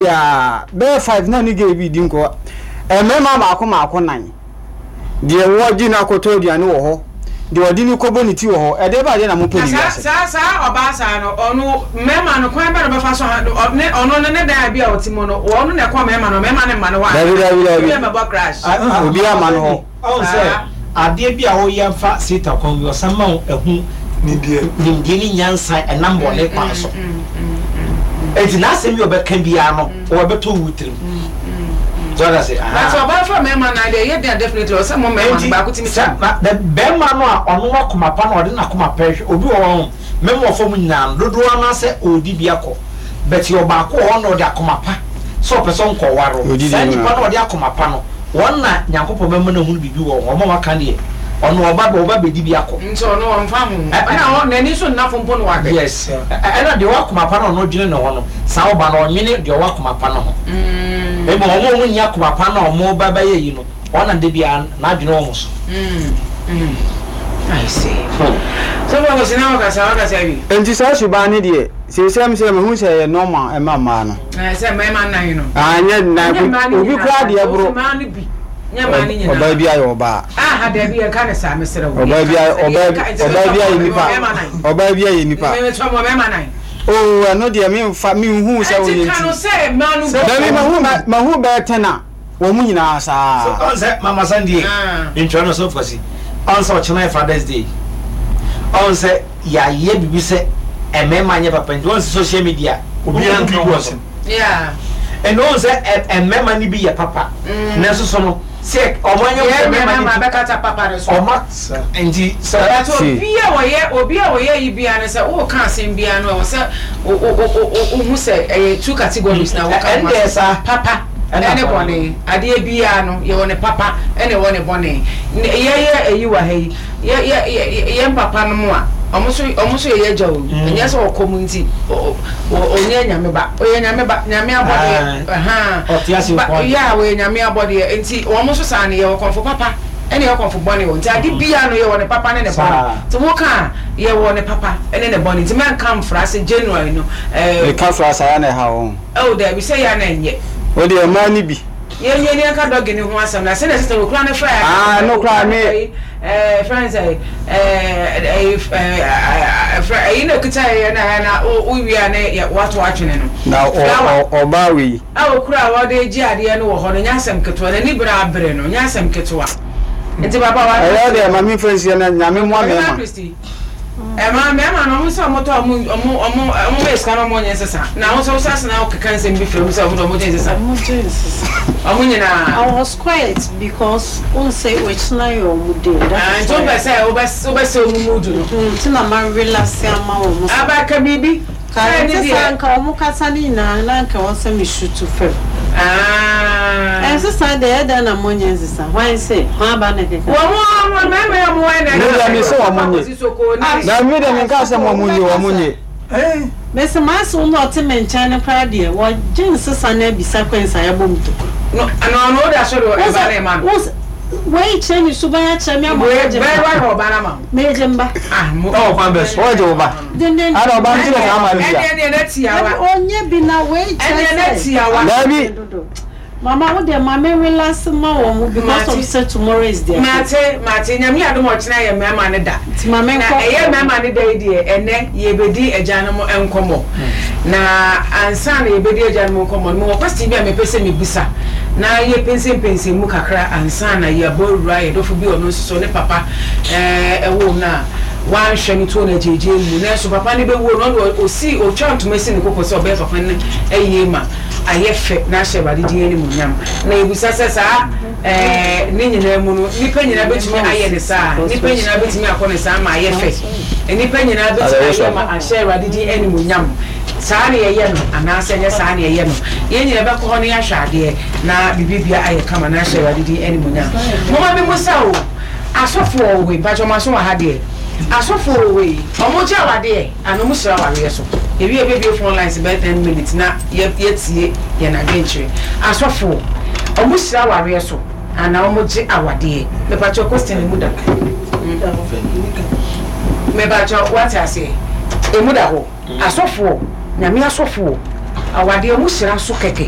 Aa, bɛyɛ 5 na ne gay bi di nkɔ. Mmarima mmaako mmaako nan. Deɛ wɔgye no akɔtɔ aduane wɔ hɔ, deɛ ɔde no kɔbɔ ne ti wɔ hɔ. Ɛdeɛ bɛn adeɛ na mopɛ Na ne saa wiase? saa saa ɔbaa saa no, ɔno mmarima no, kwan bɛn na ɔbɛfa so ha no, ne ɔno no ne dan a bi a ɔte mu no, ɔno na ɛkɔ mmarima no, mmarima no mma no hɔ Dabi, anaa? dabi, dabi. Obi ammɛbɔ crash. Obiara mma no hɔ. Ɔhu sɛ adeɛ bi a woyɛ fa Satan kwan bi, ɔsan ma wo ɛho nimdeɛ ne nyansa ɛnam bɔne kwan so. Enti n'asɛm bi a ɔbɛka biara no, ɔbɛtɔ wo tirim. So ɔda se, But ɔbaa fa mmarima no adeɛ ɛyɛ den a definitely ɔsɛ mo mmarima no baako tumi sɛ bɛrima no a ɔno akoma pa no ɔde n'akoma pa hwɛ obi wɔ hɔ mmarima wɔ fam nyinaa no dodoɔ no sɛ ɔredi bi akɔ. But yɛ ɔbaako wɔ hɔ na ɔde akoma pa sɛ ɔpɛ sɛ ɔnkɔware wo. Saa nipa no a ɔde akoma pa no, wɔn na Nyankopɔn bɛma no ahunu biribi wɔ wo ho. Wɔn a waka deɛ, ɔno ɔba ɔba bɛdi bi akɔ. Nti ɔno ɔmfa ho. Ɛna ɔ n'ani nso nna fo mpo na wahwɛ. Yes. Ɛna deɛ ɔwɔ akoma pa no a ɔno dwene ne ho no, saa ɔba no ɔnwene deɛ ɔwɔ akoma pa no ho. Mmom wɔn a wɔnni akoma pa no a wɔba bɛyɛ yi no, Wɔn na da biara n'adwene wɔ mo so. I see. Sɔfo Akwasi na wakasa wakasa awie. Nti saa suban no deɛ seesei m sɛ mahu sɛ ɛyɛ normal ɛma mmaa no. Ɛɛ sɛ mmarima nnan no. Ah nyɛ nnan Ɛnyɛ mmaa no obi nyinaa koraa deɛ saa, boro. Mmaa no bi nyɛ mmaa no nyinaa. Ɔbaa bi ayɛ ɔbaa. Aha dabi yɛn ka ne saa mesrɛ wo. Ɔbaa bi ayɛ ɔbaa ɔbaa bi ayɛ nipa. Ɔbaa bi ayɛ nipa. Mmetɔ mo mmarima nan. Oo ɛno deɛ memfa menhu sɛ woyɛ Ɛnti ka nti. no sɛ mmaa no bi. Dabi mahu mahu bɛyɛ tɛn a. Wɔn mu nyinaa saa. So ɔn sɛ mama sandie ntwerɛ no so kwasi ɔn sɛ ɔkyena yɛ fathers day ɔn sɛ yɛayɛ biribi sɛ mmarima nyɛ papa nti ɔn sɛ social media obiara nka ho asɛm ɛna ɔn sɛ mmarima no bi yɛ papa nanso so no sɛ ɔmo anyɛ yɛ mmarima mmarima no bi bɛkata papa no so ɔma nti sɛ But obi a wɔyɛ obi a wɔyɛ yi bia no sɛ woka asɛm bia no ɛwɔ sɛ wohu sɛ ɛyɛ two categories na woka ho asɛm papa ne bɔne. Adeɛ biara no, yɛwɔ ne papa ɛna ɛwɔ ne bɔne. Yɛyɛ ayi wɔ ha yi, yɛ yɛ yɛ yɛn papa nom a, wɔn nso wɔn nso yɛ yɛn agya o. Ɛnyɛ sɛ ɔkɔm nti ɔnyɛ Nyame ba. Ɔyɛ Nyame ba, Nyame abɔdeɛ. Ahaa. Ba yeah, ɔyɛ Nyame abɔdeɛ. Nti wɔn nso saa no, yɛwɔ kɔmfo papa ɛna yɛwɔ kɔmfo bɔne o. Nti ade biara no, yɛwɔ ne papa ne ne bɔne. Nti woka a, yɛwɔ ne papa ne ne bɔne. Nti mɛnka mfra sɛ January no ɛɛ. Meka fra saa na ɛha wo ho. Oh dabi sɛ yɛ a na ɛnyɛ. Wo deɛ mmaa no bi. Yɛn nwie ne yɛnka doggy no ho asɛm na sɛnea sister okura no frɛ Ah ɛno koraa me. Ɛɛ frɛ no sɛ ɛɛ ɛyi ɛɛ frɛ ɛyi na okita yɛ na ɛyɛ na wo wie a ne yɛ wato atwene no. Na ɔ ɔ ɔbaa wei. A okura a wɔde gye adeɛ no wɔ hɔ no nyɛ asɛm ketewa n'ani bere abere no nyɛ asɛm ketewa nti papa wa. Ɛyɛ deɛ ma me nfa nsie na Nyame mmoa mɛɛma. Ɛma mmarima no, wɔn sɛ wɔtɔ wɔn wɔn wɔn wɔn ma sika na wɔn nyɛ nsesa. Na wɔn nso wɔsan sena keka nsɛm bi fira mu sɛ wɔn de wɔn gye nsesa. Wɔn gye nsesa. Wɔn nyinaa. I was quiet because wɔn sɛ wɔakyina yɛ wɔn day. That is why. Nti wɔn pɛ sɛ wɔbɛ wɔbɛ sɛ wɔn mood no. Nti na ma relax ama wɔn. Aba ka biribi. Ka ɛnte saa nka wɔn kasa no nyinaa na nka ɛwɔ sɛ me shoot fam. Ɛnsesa deɛ ɛyɛ dɛn na mo nyɛ nsesa hwan se hwan ba na ɛkeka. Wɔn a wɔn mmarima yi wɔn wɔn na Me deɛ me se wɔn nye. Na me deɛ me nka sɛ wɔn nye wɔn nye. Mese m'ase wo na ɔte me nkyɛn no koraa deɛ wɔgye nsesa no abisa kwan sa yɛbɔ mu tokuro. No no no woda so de ɛba na ɛma no. Wei kyerɛ ne suban akyerɛ me ama Wei magye bɛyɛ mba. wayɛ ɔba no ama wo. Megye mba. Ah mo. Ɛwɔ kwan bɛ so wɔgye wo ba. Denden. Ada ɔba no ti na saa ama no bia. Ɛneɛ neɛ na tiawa. Ɔnyɛ bi na wei kyerɛ Ɛneɛ na sɛ. tiawa. Daabi. Mama wo deɛ ma me relax ma wɔn because of sɛ tomorrow is their day. Mate mate Nyame adom a ɔkyena yɛ mmarima no da. Nti ma me Na nkɔ. ɛyɛ mmarima no da yi deɛ ɛnɛ yɛbɛdi agyanom nkɔmmɔ. Na ansa na yɛbɛdi agyanom nkɔmmɔ no mewɔ question bi a mepɛ sɛ mebisa na yɛpɛnsɛmpɛnsɛm mu kakra ansa na yɛabɔ awura yɛn dɔfo bi a ɔno nso so ne papa woo no a wanhwɛ no too no agyeegyee mu nanso papa no bɛwuo no ɔno deɛ ɔsii ɔtwaa ntoma sii ne koko sɛ ɔbɛyɛ papa no ayie ma ayɛ fɛ na ahyɛ Awurade din animuonyam. Na yɛbisa sɛ, saa ɛɛ ne nyinaa mu no, nnipa nyinaa bɛtumi ayɛ no saa? Nnipa nyinaa bɛtumi akɔ no saa ma ayɛ fɛ? Nnipa nyinaa bɛtumi ayɛ ma ahyɛ Awurade din animuonyam? Saa na yɛyɛ no anaasɛ ɛnyɛ saa na yɛyɛ no? Yɛn nyinaa bɛkɔ hɔ na yɛahwɛ adeɛ na biribiara ayɛ kama na ahyɛ Awurade din animuonyam. Momma memmisa o, asɔfoɔ wɔ hɔ yi, mpakyɛ mo aso wɔ ha deɛ? Asɔfoɔ wɔ hɔ yi, wɔgye awadeɛ? Ano mo hyira awareɛ so. Yɛwie a yɛbɛbue phone lines bɛyɛ ten minutes na yɛatie yɛn adwenkyerɛ. Asɔfoɔ, ɔmo hyira awareɛ so anaa ɔmo gye awadeɛ? Mepakyɛw question emu da hɔ. Mepakyɛw wate aseɛ? Emu da hɔ. Asɔfoɔ, Nyame asɔfoɔ. Awadeɛ mo hyira so kɛkɛ.